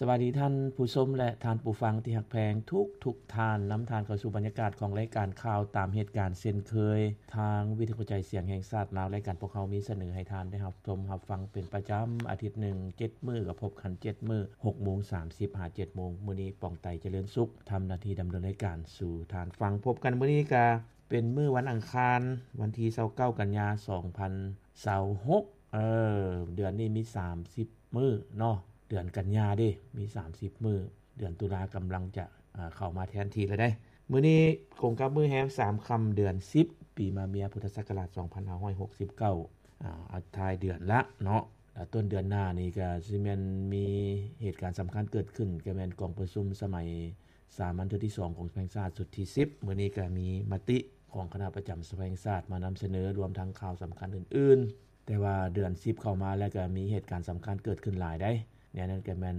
ສະບາຍດີທ່ານຜູ້ຊົມ ແລະ ທ່ານຜູ້ຟັງທີ່ຮັກແພງທຸກໆທ່ານ. ນຳທ່ານເຂົ້າສູ່ບັນຍາກາດຂອງລາຍການຂ່າວຕາມເຫດການເຊັ່ນເຄີຍ. ທາງວິທະຍຸກະຈາຍສຽງແຫ່ງຊາດລາວ, ລາຍການພວກເຮົາມີສະເໜີໃຫ້ທ່ານໄດ້ຮັບຊົມຮັບຟັງເປັນປະຈຳ, ອາທິດໜຶ່ງເຈັດມື້ ກໍພົບກັນເຈັດມື້, ຫົກໂມງສາມສິບຫາເຈັດໂມງ. ມື້ນີ້ ປອງໄຕ ຈະເລີນສຸກ ທຳໜ້າທີ່ດຳເນີນລາຍການສູ່ທ່ານຟັງ. ພົບກັນມື້ນີ້ກະເປັນມື້ວັນອັງຄານ, ວັນທີຊາວເກົ້າ ກັນຍາ ສອງພັນຊາວຫົກ. ເອີ ເດືອນນີ້ມີສາມສິບມື້ເນາະ, ເດືອນກັນຍາເດ້ ມີສາມສິບມື້, ເດືອນຕຸລາກຳລັງຈະ ອາ ເຂົ້າມາແທນທີ່ແລ້ວເດ້. ມື້ນີ້ກົງກັບມື້ແຮມສາມຄ່ຳ ເດືອນສິບ ປີມະເມຍ ພຸດທະສັກກະລາດ ສອງພັນຫ້າຮ້ອຍຫົກສິບເກົ້າ ອາ ອາ ທ້າຍເດືອນລະເນາະ. ອາ ຕົ້ນເດືອນໜ້ານີ້ກະຊິແມ່ນມີເຫດການສຳຄັນເກີດຂຶ້ນ, ກະແມ່ນກອງປະຊຸມສະໄໝສາມັນເທື່ອທີສອງຂອງສະພາແຫ່ງຊາດຊຸດທີສິບ. ມື້ນີ້ກະມີມະຕິຂອງຄະນະປະຈຳສະພາແຫ່ງຊາດມານຳສະເໜີ, ລວມທັງຂ່າວສຳຄັນອື່ນໆ. ແຕ່ວ່າເດືອນສິບເຂົ້າມາແລ້ວກະມີເຫດການສຳຄັນເກີດຂຶ້ນຫຼາຍໃດ໋. ແນວນັ້ນກະແມ່ນ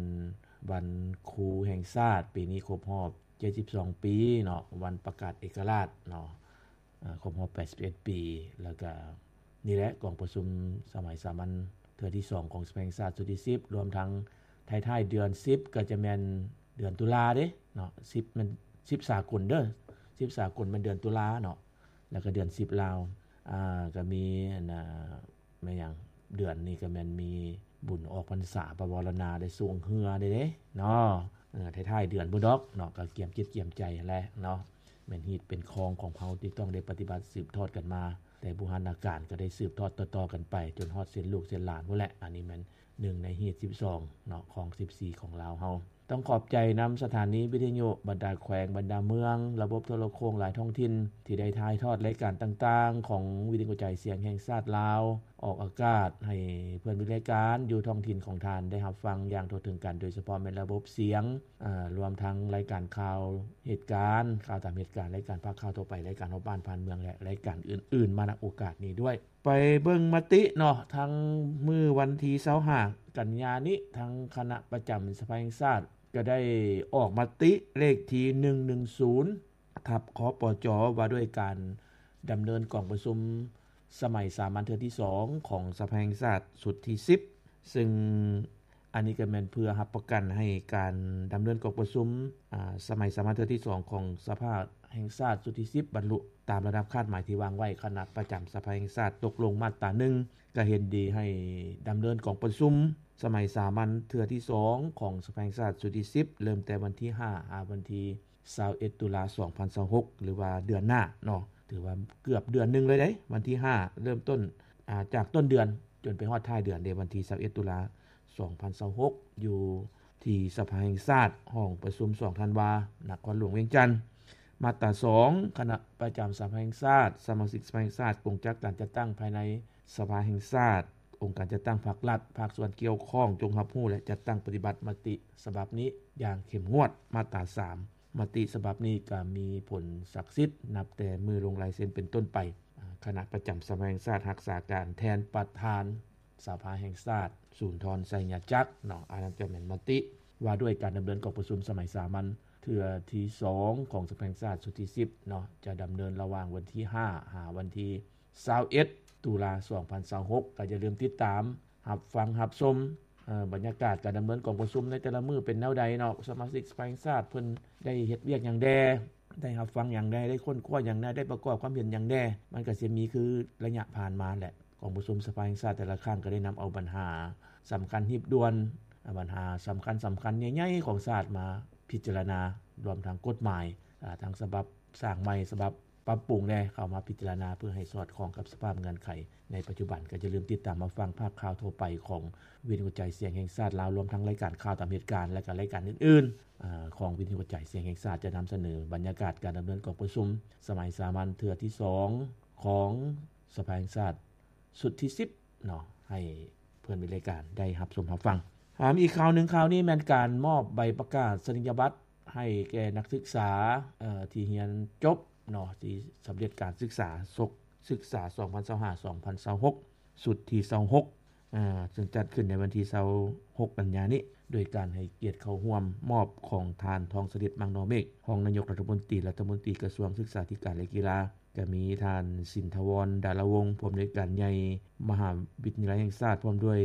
ວັນຄູແຫ່ງຊາດ, ປີນີ້ຄົບຮອບເຈັດສິບສອງປີເນາະ, ວັນປະກາດເອກະລາດເນາະ, ອາ ຄົບຮອບແປດສິບເອັດປີ. ແລ້ວກະນີ້ແຫຼະ ກອງປະຊຸມສະໄໝສາມັນເທື່ອທີສອງຂອງສະພາແຫ່ງຊາດຊຸດທີສິບ, ລວມທັງທ້າຍໆເດືອນສິບ ກະຈະແມ່ນເດືອນຕຸລາເດ້ເນາະ. ສິບແມ່ນສິບສາກົນເດີ, ສິບສາກົນແມ່ນເດືອນຕຸລາເນາະ. ແລ້ວກະເດືອນສິບລາວ ອາ ກະມີອັນນ່າ ແມ່ນຫຍັງ ເດືອນນີ້ກະແມ່ນມີບຸນອອກພັນສາ ປະວາລະນາ ໄດ້ຊ່ວງເຮືອເດ້ເນາະ. ເອີ ທ້າຍໆເດືອນພຸ້ນດອກເນາະ, ກະກຽມຈິດກຽມໃຈຫັ້ນແຫຼະເນາະ. ແມ່ນຮີດເປັນຄອງຂອງເຮົາທີ່ຕ້ອງໄດ້ປະຕິບັດສືບທອດກັນມາ ແຕ່ບູຮານາການ ກະໄດ້ສືບທອດຕໍ່ໆກັນໄປຈົນຮອດເຊັ່ນລູກເຊັ່ນຫຼານພຸ້ນແຫຼະ. ອັນນີ້ແມ່ນໜຶ່ງໃນຮີດສິບສອງເນາະ ຄອງສິບສີ່ຂອງລາວເຮົາ. ຕ້ອງຂອບໃຈນຳສະຖານີວິທະຍຸ, ບັນດາແຂວງ, ບັນດາເມືອງ, ລະບົບໂທລະໂຄ່ງຫຼາຍທ້ອງຖິ່ນ ທີ່ໄດ້ຖ່າຍທອດລາຍການຕ່າງໆຂອງວິທະຍຸກະຈາຍສຽງແຫ່ງຊາດລາວ ອອກອາກາດໃຫ້ເພື່ອນມີລາຍການຢູ່ທ້ອງຖິ່ນຂອງທ່ານໄດ້ຮັບຟັງຢ່າງທົ່ວເຖິງກັນ, ໂດຍສະເພາະແມ່ນລະບົບສຽງ, ອາ, ລວມທັງລາຍການຂ່າວເຫດການ, ຂ່າວຕາມເຫດການ, ລາຍການພາກຂ່າວທົ່ວໄປ, ລາຍການຮອບບ້ານຜ່ານເມືອງ ແລະ ລາຍການອື່ນໆ ມານະໂອກາດນີ້ດ້ວຍ. ໄປເບິ່ງມະຕິເນາະ, ທັງມື້ວັນທີຊາວຫ້າກັນຍານີ້ ທາງຄະນະປະຈຳສະພາແຫ່ງຊາດ ກໍໄດ້ອອກມະຕິເລກທີໜຶ່ງໜຶ່ງສູນ ທັບ ຄປຈ ວ່າດ້ວຍການດຳເນີນກອງປະຊຸມສະໄໝສາມັນເທື່ອທີສອງຂອງສະພາແຫ່ງຊາດຊຸດທີສິບ ຊຶ່ງ ອັນນີ້ກໍແມ່ນເພື່ອຮັບປະກັນໃຫ້ການດຳເນີນກອງປະຊຸມ ອາ ສະໄໝສາມັນເທື່ອທີສອງຂອງສະພາແຫ່ງຊາດຊຸດທີສິບ ບັນລຸຕາມລະດັບຄາດໝາຍທີ່ວາງໄວ້. ຄະນະປະຈຳສະພາແຫ່ງຊາດຕົກລົງມາດຕາໜຶ່ງ ກໍເຫັນດີໃຫ້ດຳເນີນກອງປະຊຸມສະໄໝສາມັນເທື່ອທີສອງຂອງສະພາແຫ່ງຊາດຊຸດທີສິບ ເລີ່ມແຕ່ວັນທີຫ້າ ຫາວັນທີຊາວເອັດ ຕຸລາ ສອງພັນຊາວຫົກ ຫຼືວ່າເດືອນໜ້າເນາະ. ຖືວ່າເກືອບເດືອນໜຶ່ງເລີຍເດ້ ວັນທີຫ້າເລີ່ມຕົ້ນ ອາ ຈາກຕົ້ນເດືອນຈົນໄປຮອດທ້າຍເດືອນເດ້ ວັນທີຊາວເອັດ ຕຸລາ ສອງພັນຊາວຫົກ ຢູ່ທີ່ສະພາແຫ່ງຊາດ ຫ້ອງປະຊຸມສອງທັນວາ ນະຄອນຫຼວງວຽງຈັນ. ມາດຕາສອງ ຄະນະປະຈຳສະພາແຫ່ງຊາດ, ສະມາຊິກສະພາແຫ່ງຊາດ, ກົງຈັກການຈັດຕັ້ງພາຍໃນສະພາແຫ່ງຊາດ, ອົງການຈັດຕັ້ງພາກລັດ, ພາກສ່ວນກ່ຽວຂ້ອງ ຈົ່ງຮັບຮູ້ ແລະ ຈັດຕັ້ງປະຕິບັດມະຕິສະບັບນີ້ຢ່າງເຂັ້ມງວດ. ມາດຕາສາມ ມະຕິສະບັບນີ້ກໍມີຜົນສັກສິດນັບແຕ່ມື້ລົງລາຍເຊັນເປັນຕົ້ນໄປ. ອາ ຄະນະປະຈຳສະພາແຫ່ງຊາດຮັກສາການແທນປະທານສະພາແຫ່ງຊາດ ສູນທອນ ໄຊຍະຈັກ ເນາະ. ອັນນັ້ນກໍແມ່ນມະຕິວ່າດ້ວຍການດຳເນີນກອງປະຊຸມສະໄໝສາມັນເທື່ອທີສອງຂອງສະພາແຫ່ງຊາດຊຸດທີສິບເນາະ, ຈະດຳເນີນລະຫວ່າງວັນທີຫ້າ ຫາວັນທີຊາວເອັດ ຕຸລາ ສອງພັນຊາວຫົກ. ກໍຢ່າລືມຕິດຕາມ ຮັບຟັງຮັບຊົມ ເອີ ບັນຍາກາດການດຳເນີນກອງປະຊຸມໃນແຕ່ລະມື້ເປັນແນວໃດເນາະ, ສະມາຊິກສະພາແຫ່ງຊາດເພິ່ນໄດ້ເຮັດວຽກຫຍັງແດ່, ໄດ້ຮັບຟັງຫຍັງແດ່, ໄດ້ຄົ້ນຄວ້າຫຍັງແດ່, ໄດ້ປະກອບຄວາມເຫັນຫຍັງແດ່. ມັນກໍຊິມີຄືໄລຍະຜ່ານມາແຫຼະ, ກອງປະຊຸມສະພາແຫ່ງຊາດແຕ່ລະຄັ້ງກໍໄດ້ນຳເອົາບັນຫາສຳຄັນຮີບດ່ວນ, ບັນຫາສຳຄັນໆ ໃຫຍ່ໆຂອງຊາດມາພິຈາລະນາ, ລວມທັງກົດໝາຍ ອາ ທັງສະບັບສ້າງໃໝ່, ສະບັບ ປັບປຸງແດ່ ເຂົ້າມາພິຈາລະນາເພື່ອໃຫ້ສອດຄ່ອງກັບສະພາບເງື່ອນໄຂໃນປັດຈຸບັນ. ກໍຢ່າລືມຕິດຕາມຮັບຟັງພາກຂ່າວທົ່ວໄປຂອງວິທະຍຸກະຈາຍສຽງແຫ່ງຊາດລາວ, ລວມທັງລາຍການຂ່າວຕາມເຫດການ ແລະ ກໍລາຍການອື່ນໆ ອາ ຂອງວິທະຍຸກະຈາຍສຽງແຫ່ງຊາດ ຈະນຳສະເໜີບັນຍາກາດການດຳເນີນກອງປະຊຸມສະໄໝສາມັນເທື່ອທີສອງຂອງສະພາແຫ່ງຊາດຊຸດທີສິບເນາະ ໃຫ້ ເພື່ອນມີລາຍການໄດ້ຮັບຊົມຮັບຟັງ. ອາ ມີອີກຂ່າວໜຶ່ງ, ຂ່າວນີ້ແມ່ນການມອບໃບປະກາສະນີຍະບັດໃຫ້ແກ່ນັກສຶກສາ ເອີ ທີ່ຮຽນຈົບເນາະ ທີ່ສຳເລັດການສຶກສາສົກສຶກສາ ສອງພັນຊາວຫ້າ ສອງພັນຊາວຫົກ ຊຸດທີຊາວຫົກ ອາ ເຊິ່ງຈັດຂຶ້ນໃນວັນທີຊາວຫົກ ກັນຍານີ້ ໂດຍການໃຫ້ກຽດເຂົ້າຮ່ວມມອບຂອງທ່ານ ທອງສະລິດ ມັງນໍເມກ ຮອງນາຍົກລັດຖະມົນຕີ, ລັດຖະມົນຕີກະຊວງສຶກສາທິການ ແລະ ກິລາ, ກະມີທ່ານ ສິນທະວອນ ດາລະວົງ ຜູ້ອຳນວຍການໃຫຍ່ມະຫາວິທະຍາໄລແຫ່ງຊາດ, ພ້ອມດ້ວຍ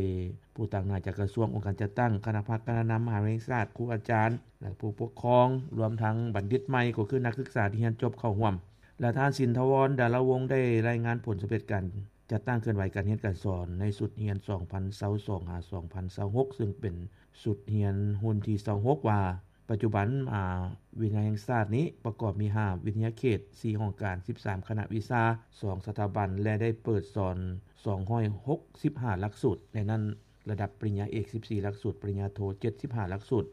ຜູ້ຕາງໜ້າຈາກກະຊວງ, ອົງການຈັດຕັ້ງ, ຄະນະພັກ, ຄະນະນຳມະຫາວິທະຍາໄລແຫ່ງຊາດ, ຄູອາຈານ ແລະ ຜູ້ປົກຄອງ, ລວມທັງບັນດິດໃໝ່ ກໍຄືນັກສຶກສາທີ່ຮຽນຈົບເຂົ້າຮ່ວມ. ແລະ ທ່ານ ສິນທະວອນ ດາລະວົງ ໄດ້ລາຍງານຜົນສຳເລັດການຈັດຕັ້ງເຄື່ອນໄຫວການຮຽນການສອນໃນຊຸດຮຽນສອງພັນຊາວສອງ ຫາ ສອງພັນຊາວຫົກ ເຊິ່ງເປັນຊຸດຮຽນຮຸ່ນທີຊາວຫົກ ວ່າ ປັດຈຸບັນ ມະຫາວິທະຍາໄລແຫ່ງຊາດນີ້ປະກອບມີຫ້າວິທະຍາເຂດ, ສີ່ຫ້ອງການ, ສິບສາມຄະນະວິຊາ, ສອງສະຖາບັນ ແລະ ໄດ້ເປີດສອນສອງຮ້ອຍຫົກສິບຫ້າຫຼັກສູດ, ໃນນັ້ນລະດັບປະລິນຍາເອກສິບສີ່ຫຼັກສູດ, ປະລິນຍາໂທເຈັດສິບຫ້າຫຼັກສູດ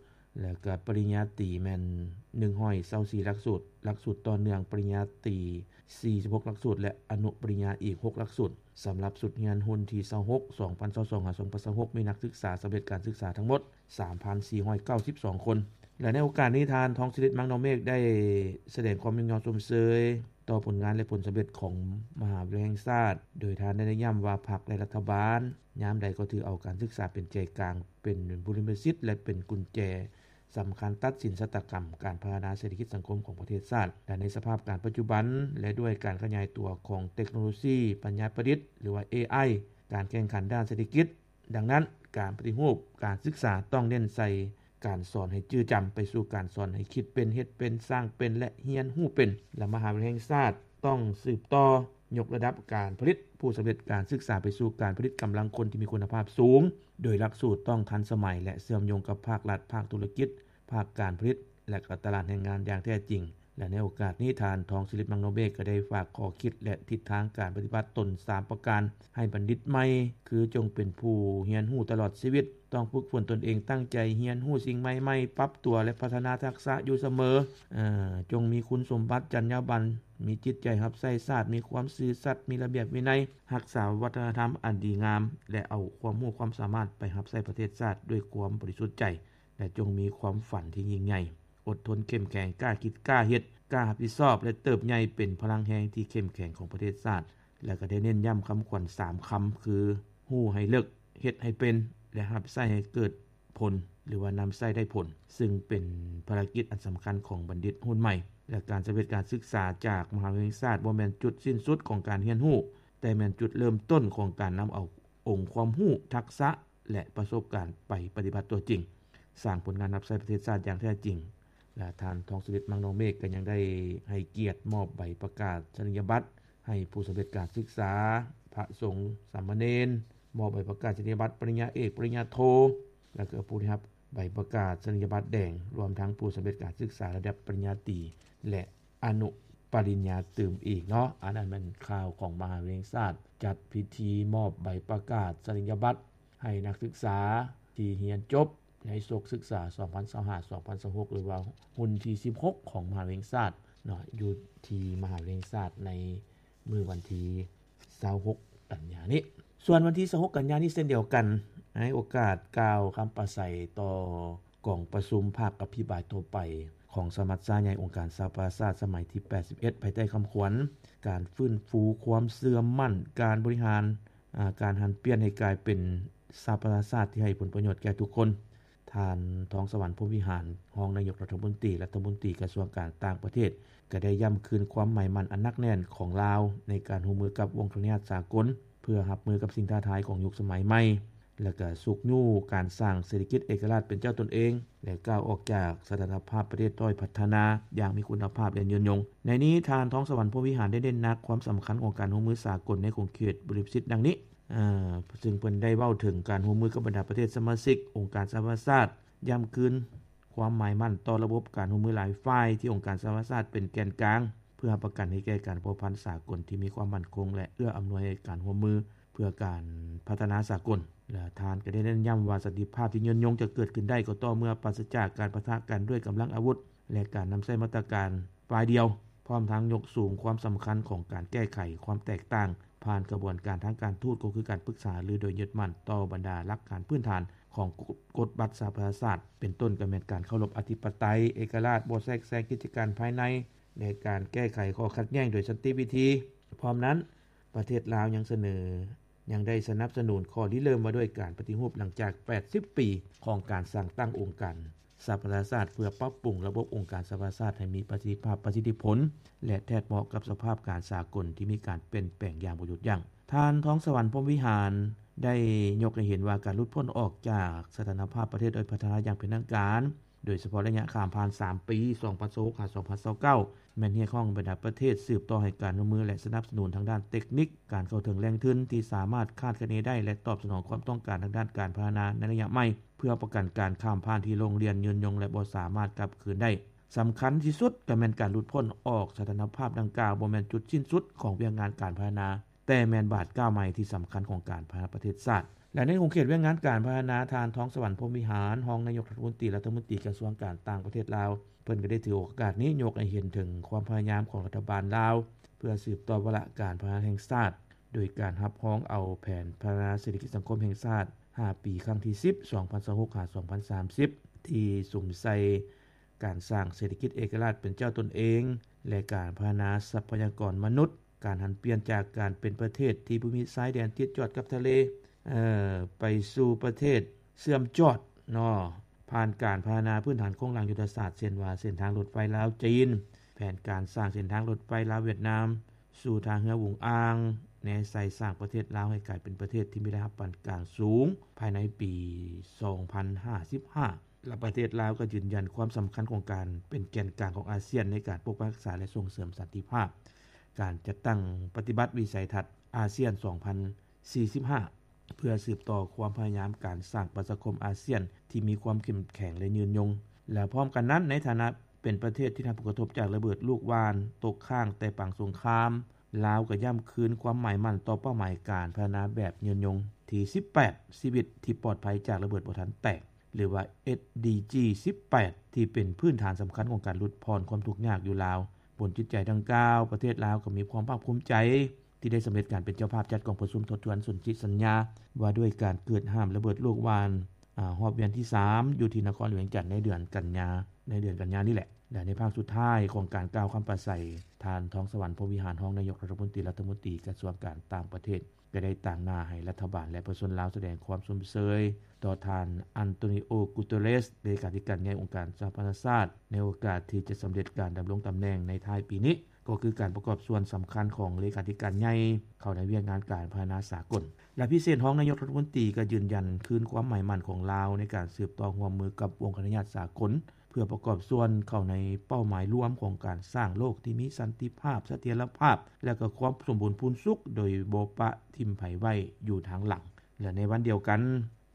ແລະ ກະປະລິນຍາຕີແມ່ນໜຶ່ງຮ້ອຍຊາວສີ່ຫຼັກສູດ, ຫຼັກສູດຕໍ່ເນື່ອງປະລິນຍາຕີສີ່ສິບຫົກຫຼັກສູດ ແລະ ອະນຸປະລິນຍາອີກຫົກຫຼັກສູດ. ສຳລັບຊຸດຮຽນຮຸ່ນທີຊາວຫົກ ສອງພັນຊາວສອງ ຫາ ສອງພັນຊາວຫົກ ມີນັກສຶກສາສຳເລັດການສຶກສາທັງໝົດ ສາມພັນສີ່ຮ້ອຍເກົ້າສິບສອງຄົນ ແລະ ໃນໂອກາດນີ້ ທ່ານ ທອງສະລິດ ມັງນໍເມກ ໄດ້ສະແດງຄວາມຍິນຍອມຊົມເຊີຍຕໍ່ຜົນງານ ແລະ ຜົນສຳເລັດຂອງມະຫາວິທະຍາໄລແຫ່ງຊາດ, ໂດຍທ່ານໄດ້ເນັ້ນຢ້ຳວ່າ ພັກ ແລະ ລັດຖະບານຍາມໃດກໍຖືເອົາການສຶກສາເປັນໃຈກາງ, ເປັນບຸລິມະສິດ ແລະ ເປັນກຸນແຈສຳຄັນຕັດສິນຊະຕາກຳການພັດທະນາເສດຖະກິດສັງຄົມຂອງປະເທດຊາດ ແລະ ໃນສະພາບການປັດຈຸບັນ ແລະ ດ້ວຍການຂະຫຍາຍຕົວຂອງເຕັກໂນໂລຊີປັນຍາປະດິດ ຫຼືວ່າ ເອໄອ, ການແຂ່ງຂັນດ້ານເສດຖະກິດ, ດັ່ງນັ້ນ ການປະຕິຮູບການສຶກສາຕ້ອງເນັ້ນໃສ່ການສອນໃຫ້ຈື່ຈຳ ໄປສູ່ການສອນໃຫ້ຄິດເປັນ, ເຮັດເປັນ, ສ້າງເປັນ ແລະ ຮຽນຮູ້ເປັນ ແລະ ມະຫາວິທະຍາໄລແຫ່ງຊາດຕ້ອງສືບຕໍ່ຍົກລະດັບການຜະລິດຜູ້ສຳເລັດການສຶກສາໄປສູ່ການຜະລິດກຳລັງຄົນທີ່ມີຄຸນນະພາບສູງ, ໂດຍຫຼັກສູດຕ້ອງທັນສະໄໝ ແລະ ເຊື່ອມໂຍງກັບພາກລັດ, ພາກທຸລະກິດ, ພາກການຜະລິດ ແລະ ກໍຕະຫຼາດແຮງງານຢ່າງແທ້ຈິງ. ແລະ ໃນໂອກາດນີ້ ທ່ານ ທອງສະລິດ ມັງໂນເມກ ກໍໄດ້ຝາກຂໍ້ຄິດ ແລະ ທິດທາງການປະຕິບັດຕົນສາມປະການໃຫ້ບັນດິດໃໝ່ ຄື ຈົ່ງເປັນຜູ້ຮຽນຮູ້ຕະຫຼອດຊີວິດ, ຕ້ອງຝຶກຝົນຕົນເອງ, ຕັ້ງໃຈຮຽນຮູ້ສິ່ງໃໝ່ໆ, ປັບຕົວ ແລະ ພັດທະນາທັກສະຢູ່ສະເໝີ, ເອີ ຈົ່ງມີຄຸນສົມບັດ, ຈັນຍາບັນ, ມີຈິດໃຈຮັບໃຊ້ຊາດ, ມີຄວາມຊື່ສັດ, ມີລະບຽບວິໄນ, ຮັກສາວັດທະນະທຳອັນດີງາມ ແລະ ເອົາຄວາມຮູ້ຄວາມສາມາດໄປຮັບໃຊ້ປະເທດຊາດດ້ວຍຄວາມບໍລິສຸດໃຈ. ແລະ ຈົ່ງມີຄວາມຝັນທີ່ຍິ່ງໃຫຍ່, ອົດທົນເຂັ້ມແຂງ, ກ້າຄິດກ້າເຮັດ, ກ້າຮັບຜິດຊອບ ແລະ ເຕີບໃຫຍ່ເປັນພະລັງແຮງທີ່ເຂັ້ມແຂງຂອງປະເທດຊາດ. ແລະ ກໍໄດ້ເນັ້ນຢ້ຳຄຳຂວັນສາມຄຳ ຄື ຮູ້ໃຫ້ເລິກ, ເຮັດໃຫ້ເປັນ ແລະ ຮັບໃຊ້ໃຫ້ເກີດຜົນ ຫຼືວ່ານຳໃຊ້ໄດ້ຜົນ, ຊຶ່ງເປັນພາລະກິດອັນສຳຄັນຂອງບັນດິດຮຸ່ນໃໝ່. ແລະ ການສຳເລັດການສຶກສາຈາກມະຫາວິທະຍາໄລແຫ່ງຊາດ ບໍ່ແມ່ນຈຸດສິ້ນສຸດຂອງການຮຽນຮູ້, ແຕ່ແມ່ນຈຸດເລີ່ມຕົ້ນຂອງການນຳເອົາອົງຄວາມຮູ້, ທັກສະ ແລະ ປະສົບການໄປປະຕິບັດຕົວຈິງ, ສ້າງຜົນງານຮັບໃຊ້ປະເທດຊາດຢ່າງແທ້ຈິງ. ແລະ ທ່ານ ທອງສະລິດ ມັງນໍເມກ ກໍຍັງໄດ້ໃຫ້ກຽດມອບໃບປະກາດສະນີຍະບັດໃຫ້ຜູ້ສຳເລັດການສຶກສາ, ພະສົງ, ສາມະເນນ, ມອບໃບປະກາດສະນີຍະບັດປະລິນຍາເອກ, ປະລິນຍາໂທ ແລະ ກໍຜູ້ໄດ້ຮັບໃບປະກາດສະນີຍະບັດແດງ, ລວມທັງຜູ້ສຳເລັດການສຶກສາລະດັບປະລິນຍາຕີ ແລະ ອະນຸປະລິນຍາຕື່ມອີກເນາະ. ອັນນັ້ນແມ່ນຂ່າວຂອງມະຫາວິທະຍາໄລແຫ່ງຊາດ ຈັດພິທີມອບໃບປະກາດສະນີຍະບັດໃຫ້ນັກສຶກສາທີ່ຮຽນຈົບໃນສົກສຶກສາສອງພັນຊາວຫ້າ ສອງພັນຊາວຫົກ ຫຼືວ່າຮຸ່ນທີສິບຫົກຂອງມະຫາວິທະຍາໄລແຫ່ງຊາດເນາະ, ຢູ່ທີ່ມະຫາວິທະຍາໄລແຫ່ງຊາດໃນມື້ວັນທີຊາວຫົກ ກັນຍານີ້. ສ່ວນວັນທີຊາວຫົກ ກັນຍານີ້ເຊັ່ນດຽວກັນ, ໃນໂອກາດກ່າວຄຳປາໄສຕໍ່ ກອງປະຊຸມພາກອະພິປາຍທົ່ວໄປຂອງສະມັດຊາໃຫຍ່ອົງການສະຫະປະຊາຊາດສະໄໝທີແປດສິບເອັດ ພາຍໃຕ້ຄຳຂວັນ ການຟື້ນຟູຄວາມເຊື່ອໝັ້ນ, ການບໍລິຫານ, ອາ, ການຫັນປ່ຽນໃຫ້ກາຍເປັນສະຫະປະຊາຊາດທີ່ໃຫ້ຜົນປະໂຫຍດແກ່ທຸກຄົນ. ທ່ານ ທອງສະຫວັນ ພົມວິຫານ ຮອງນາຍົກລັດຖະມົນຕີ, ລັດຖະມົນຕີກະຊວງການຕ່າງປະເທດ ກໍໄດ້ຢ້ຳຄືນຄວາມໝາຍໝັ້ນອັນໜັກແໜ້ນຂອງລາວໃນການຮ່ວມມືກັບວົງຄະລະນິຫາດສາກົນ ເພື່ອຮັບມືກັບສິ່ງທ້າທາຍຂອງຍຸກສະໄໝໃໝ່ ແລະ ກະຊຸກຍູ້ການສ້າງເສດຖະກິດເອກະລາດເປັນເຈົ້າຕົນເອງ ແລະ ກ້າວອອກຈາກສະຖານະພາບປະເທດດ້ອຍພັດທະນາຢ່າງມີຄຸນນະພາບ ແລະ ຍືນຍົງ. ໃນນີ້ ທ່ານ ທອງສະຫວັນ ພົມວິຫານ ໄດ້ເນັ້ນໜັກຄວາມສຳຄັນຂອງການຮ່ວມມືສາກົນໃນຂົງເຂດບໍລິມະສິດດັ່ງນີ້, ເຊິ່ງເພິ່ນໄດ້ເວົ້າເຖິງການຮ່ວມມືກັບບັນດາປະເທດສະມາຊິກອົງການສະຫະປະຊາຊາດ, ຢ້ຳຄືນຄວາມໝາຍໝັ້ນຕໍ່ລະບົບການຮ່ວມມືຫຼາຍຝ່າຍທີ່ອົງການສະຫະປະຊາຊາດເປັນແກນກາງ ເພື່ອຮັບປະກັນໃຫ້ແກ່ການພົວພັນສາກົນທີ່ມີຄວາມໝັ້ນຄົງ ແລະ ເອື້ອອຳນວຍໃຫ້ການຮ່ວມມືເພື່ອການພັດທະນາສາກົນ. ແລະ ທ່ານກໍໄດ້ເນັ້ນຢ້ຳວ່າ ສັນຕິພາບທີ່ຍືນຍົງຈະເກີດຂຶ້ນໄດ້ກໍຕໍ່ເມື່ອປາສະຈາກການປະທະກັນດ້ວຍກຳລັງອາວຸດ ແລະ ການນຳໃຊ້ມາດຕະການຝ່າຍດຽວ, ພ້ອມທັງຍົກສູງຄວາມສຳຄັນຂອງການແກ້ໄຂຄວາມແຕກຕ່າງຜ່ານຂະບວນການທາງການທູດ, ກໍຄືການປຶກສາຫາລືໂດຍຍຶດໝັ້ນຕໍ່ບັນດາຫຼັກການພື້ນຖານຂອງກົດບັດສະຫະປະຊາຊາດ, ເປັນຕົ້ນກໍແມ່ນການເຄົາລົບອະທິປະໄຕ, ເອກະລາດ, ບໍ່ແຊກແຊງກິດຈະການພາຍໃນ ແລະ ການແກ້ໄຂຂໍ້ຂັດແຍ່ງໂດຍສັນຕິວິທີ. ພ້ອມນັ້ນ, ປະເທດລາວຍັງສະເໜີ ຍັງໄດ້ສະໜັບສະໜູນຂໍ້ລິເລີ່ມວ່າດ້ວຍການປະຕິຮູບຫຼັງຈາກແປດສິບປີຂອງການສ້າງຕັ້ງອົງການສະຫະປະຊາຊາດ ເພື່ອປັບປຸງລະບົບອົງການສະຫະປະຊາຊາດໃຫ້ມີປະສິດທິພາບ, ປະສິດທິຜົນ ແລະ ແທດເໝາະກັບສະພາບການສາກົນທີ່ມີການປ່ຽນແປງຢ່າງບໍ່ຢຸດຢັ້ງ. ທ່ານ ທອງສະຫວັນ ພົມວິຫານ ໄດ້ຍົກໃຫ້ເຫັນວ່າການຫຼຸດພົ້ນອອກຈາກສະຖານະພາບປະເທດດ້ອຍພັດທະນາຢ່າງເປັນທາງການ ໂດຍສະເພາະໄລຍະຂ້າມຜ່ານສາມປີ ສອງພັນຊາວຫົກ ຫາ ສອງພັນຊາວເກົ້າ ແມ່ນຮຽກຮ້ອງບັນດາປະເທດສືບຕໍ່ໃຫ້ການຮ່ວມມື ແລະ ສະໜັບສະໜູນທາງດ້ານເຕັກນິກ, ການເຂົ້າເຖິງແຫຼ່ງທຶນທີ່ສາມາດຄາດຄະເນໄດ້ ແລະ ຕອບສະໜອງຄວາມຕ້ອງການທາງດ້ານການພັດທະນາໃນໄລຍະໃໝ່ ເພື່ອປະກັນການຂ້າມຜ່ານທີ່ໂລ່ງລ່ຽນຍືນຍົງ ແລະ ບໍ່ສາມາດກັບຄືນໄດ້. ສຳຄັນທີ່ສຸດກໍແມ່ນການຫຼຸດພົ້ນອອກສະຖານະພາບດັ່ງກ່າວ ບໍ່ແມ່ນຈຸດສິ້ນສຸດຂອງວຽກງານການພັດທະນາ, ແຕ່ແມ່ນບາດກ້າວໃໝ່ທີ່ສຳຄັນຂອງການພັດທະນາປະເທດຊາດ. ແລະ ໃນຂົງເຂດວຽກງານການພັດທະນາ, ທ່ານ ທອງສະຫວັນ ພົມວິຫານ ຮອງນາຍົກລັດຖະມົນຕີ, ລັດຖະມົນຕີກະຊວງການຕ່າງປະເທດລາວ, ເພິ່ນກໍໄດ້ຖືໂອກາດນີ້ຍົກໃຫ້ເຫັນເຖິງຄວາມພະຍາຍາມຂອງລັດຖະບານລາວ ເພື່ອສືບຕໍ່ວາລະການພັດທະນາແຫ່ງຊາດ ໂດຍການຮັບຮອງເອົາແຜນພັດທະນາເສດຖະກິດສັງຄົມແຫ່ງຊາດຫ້າປີ ຄັ້ງທີສິບ ສອງພັນຊາວຫົກ ຫາ ສອງພັນສາມສິບ ທີ່ສຸມໃສ່ການສ້າງເສດຖະກິດເອກະລາດເປັນເຈົ້າຕົນເອງ ແລະ ການພັດທະນາຊັບພະຍາກອນມະນຸດ, ການຫັນປ່ຽນຈາກການເປັນປະເທດທີ່ບໍ່ມີຊາຍແດນຕິດຈອດກັບທະເລ ເອີ ໄປສູ່ປະເທດເຊື່ອມຈອດເນາະ ຜ່ານການພັດທະນາພື້ນຖານໂຄງລ່າງຍຸດທະສາດ ເຊັ່ນວ່າເສັ້ນທາງລົດໄຟລາວ-ຈີນ, ແຜນການສ້າງເສັ້ນທາງລົດໄຟລາວ-ຫວຽດນາມ ສູ່ທ່າເຮືອຫວຸງອາງ, ແນໃສ່ສ້າງປະເທດລາວໃຫ້ກາຍເປັນປະເທດທີ່ມີລາຍຮັບປານກາງສູງພາຍໃນປີສອງພັນຫ້າສິບຫ້າ ແລະ ປະເທດລາວກໍຢືນຢັນຄວາມສຳຄັນຂອງການເປັນແກນກາງຂອງອາຊຽນໃນການປົກປັກຮັກສາ ແລະ ສົ່ງເສີມສັນຕິພາບ, ການຈັດຕັ້ງປະຕິບັດວິໄສທັດອາຊຽນສອງພັນສີ່ສິບຫ້າ ເພື່ອສືບຕໍ່ຄວາມພະຍາຍາມການສ້າງປະຊາຄົມອາຊຽນທີ່ມີຄວາມເຂັ້ມແຂງ ແລະ ຍືນຍົງ. ແລະ ພ້ອມກັນນັ້ນ, ໃນຖານະເປັນປະເທດທີ່ໄດ້ຮັບຜົນກະທົບຈາກລະເບີດລູກຫວ່ານຕົກຄ້າງແຕ່ປາງສົງຄາມ, ລາວກໍຢ້ຳຄືນຄວາມໝາຍໝັ້ນຕໍ່ເປົ້າໝາຍການພັດທະນາແບບຍືນຍົງ. ທີສິບແປດ ຊີວິດທີ່ປອດໄພຈາກລະເບີດບໍ່ທັນແຕກ ຫຼືວ່າ ເອສດີຈີ ສິບແປດ ທີ່ເປັນພື້ນຖານສຳຄັນຂອງການຫຼຸດຜ່ອນຄວາມທຸກຍາກຢູ່ລາວ. ບົນຈິດໃຈດັ່ງກ່າວ, ປະເທດລາວກໍມີຄວາມພາກພູມໃຈທີ່ໄດ້ສຳເລັດການເປັນເຈົ້າພາບຈັດກອງປະຊຸມທົບທວນສົນທິສັນຍາວ່າດ້ວຍການເກີດຫ້າມລະເບີດໂລກວ່ານ ອາ ຮອບວຽນທີສາມ ຢູ່ທີ່ນະຄອນຫຼວງວຽງຈັນໃນເດືອນກັນຍາ, ໃນເດືອນກັນຍານີ້ແຫຼະ. ແລະ ໃນພາກສຸດທ້າຍຂອງການກ່າວຄຳປາໄສ, ທ່ານ ທອງສະຫວັນ ພົມວິຫານ ຮອງນາຍົກລັດຖະມົນຕີ, ລັດຖະມົນຕີກະຊວງການຕ່າງປະເທດ ກໍໄດ້ຕາງໜ້າໃຫ້ລັດຖະບານ ແລະ ປະຊາຊົນລາວສະແດງຄວາມຊົມເຊີຍຕໍ່ທ່ານ ອັນໂຕນິໂອ ກຸເຕເຣສ ເລຂາທິການໃຫຍ່ອົງການສະຫະປະຊາຊາດ ໃນໂອກາດທີ່ຈະສຳເລັດການດຳລົງຕຳແໜ່ງໃນທ້າຍປີນີ້, ກໍຄືການປະກອບສ່ວນສຳຄັນຂອງເລຂາທິການໃຫຍ່ເຂົ້າໃນວຽກງານການພັດທະນາສາກົນ. ແລະ ພິເສດຮອງນາຍົກລັດຖະມົນຕີກໍຢືນຢັນຄືນຄວາມໝາຍໝັ້ນຂອງລາວໃນການສືບຕໍ່ຮ່ວມມືກັບອົງຄະນະຍາດສາກົນ ເພື່ອປະກອບສ່ວນເຂົ້າໃນເປົ້າໝາຍລວມຂອງການສ້າງໂລກທີ່ມີສັນຕິພາບ, ສະຖຽນລະພາບ ແລະ ກໍຄວາມສົມບູນພູນສຸກ ໂດຍບໍ່ປະຖິ້ມໃຜໄວ້ຢູ່ທາງຫຼັງ. ແລະ ໃນວັນດຽວກັນ,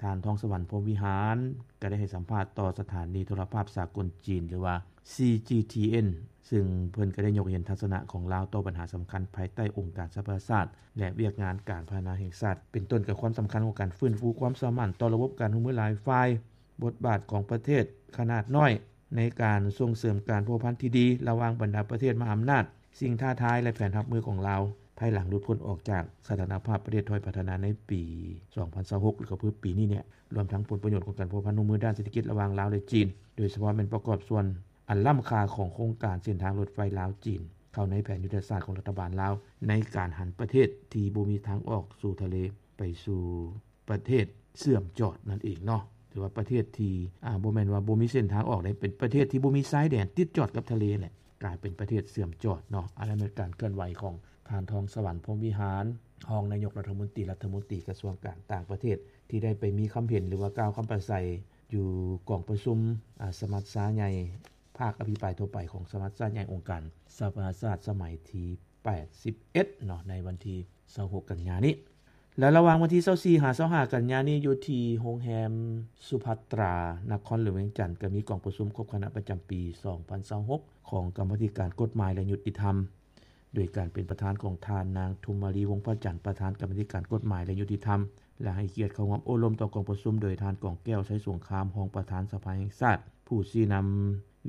ທ່ານ ທອງສະຫວັນ ພົມວິຫານ ກໍໄດ້ໃຫ້ສຳພາດຕໍ່ສະຖານີໂທລະພາບສາກົນຈີນ ຫຼືວ່າ ຊີຈີທີເອັນ ຊຶ່ງເພິ່ນກໍໄດ້ຍົກໃຫ້ເຫັນທັດສະນະຂອງລາວຕໍ່ບັນຫາສຳຄັນພາຍໃຕ້ອົງການສະຫະປະຊາຊາດ ແລະ ວຽກງານການພັດທະນາແຫ່ງຊາດ, ເປັນຕົ້ນກໍຄວາມສຳຄັນຂອງການຟື້ນຟູຄວາມສາມານຕໍ່ລະບົບການຮ່ວມມືຫຼາຍຝ່າຍ, ບົດບາດຂອງປະເທດຂະໜາດນ້ອຍໃນການສົ່ງເສີມການພົວພັນທີ່ດີລະຫວ່າງບັນດາປະເທດມະຫາອຳນາດ, ສິ່ງທ້າທາຍ ແລະ ແຜນຮັບມືຂອງລາວ ພາຍຫຼັງຫຼຸດພົ້ນອອກຈາກສະຖານະພາບປະເທດດ້ອຍພັດທະນາໃນປີສອງພັນຊາວຫົກ ຫຼື ກໍຄືປີນີ້ແຫຼະ, ລວມທັງຜົນປະໂຫຍດຂອງການພົວພັນຮ່ວມມືດ້ານເສດຖະກິດລະຫວ່າງລາວ ແລະ ຈີນ, ໂດຍສະເພາະແມ່ນປະກອບສ່ວນອັນລ້ຳຄ່າຂອງໂຄງການເສັ້ນທາງລົດໄຟລາວ-ຈີນ ເຂົ້າໃນແຜນຍຸດທະສາດຂອງລັດຖະບານລາວ ໃນການຫັນປະເທດທີ່ບໍ່ມີທາງອອກສູ່ທະເລໄປສູ່ ປະເທດເຊື່ອມຈອດນັ້ນເອງເນາະ, ຫຼືວ່າປະເທດທີ່ ອາ ບໍ່ແມ່ນວ່າບໍ່ມີເສັ້ນທາງອອກເດ້, ເປັນປະເທດທີ່ບໍ່ມີຊາຍແດນຕິດຈອດກັບທະເລແຫຼະ, ກາຍເປັນປະເທດເຊື່ອມຈອດເນາະ. ອັນນັ້ນແມ່ນການເຄື່ອນໄຫວຂອງທ່ານ ທອງສະຫວັນ ພົມວິຫານ ຮອງນາຍົກລັດຖະມົນຕີ ລັດຖະມົນຕີກະຊວງການຕ່າງປະເທດ ທີ່ໄດ້ໄປມີຄຳເຫັນ ຫຼືວ່າກ່າວຄຳປາໄສຢູ່ກອງປະຊຸມ ອາ ສະມັດຊາໃຫຍ່ ພາກອະພິປາຍທົ່ວໄປຂອງສະມັດຊາໃຫຍ່ອົງການສະຫະປະຊາຊາດສະໄໝທີ ແປດສິບເອັດເນາະ ໃນວັນທີຊາວຫົກກັນຍານີ້ ແລະ ລະຫວ່າງວັນທີຊາວສີ່ຫາຊາວຫ້າກັນຍານີ້ ຢູ່ທີ່ໂຮງແຮມສຸພັດຕາ ນະຄອນຫຼວງວຽງຈັນ ກໍມີກອງປະຊຸມຄົບຄະນະປະຈຳປີສອງພັນຊາວຫົກ ຂອງກຳມາທິການກົດໝາຍ ແລະ ຍຸຕິທຳ ໂດຍການເປັນປະທານຂອງທ່ານນາງ ທຸມມາລີ ວົງພະຈັນ ປະທານກຳມາທິການກົດໝາຍ ແລະ ຍຸຕິທຳ ແລະ ໃຫ້ກຽດເຂົ້າຮ່ວມໂອ້ລົມຕໍ່ກອງປະຊຸມໂດຍທ່ານ ກອງແກ້ວ ໄຊສົງຄາມ ຮອງປະທານສະພາແຫ່ງຊາດ ຜູ້ຊີ້ນຳ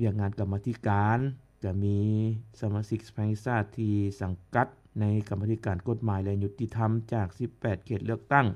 ວຽກງານກຳມາທິການ, ກະມີສະມາຊິກສະພາແຫ່ງຊາດທີ່ສັງກັດໃນກຳມາທິການກົດໝາຍ ແລະ ຍຸຕິທຳຈາກສິບແປດເຂດເລືອກຕັ້ງ,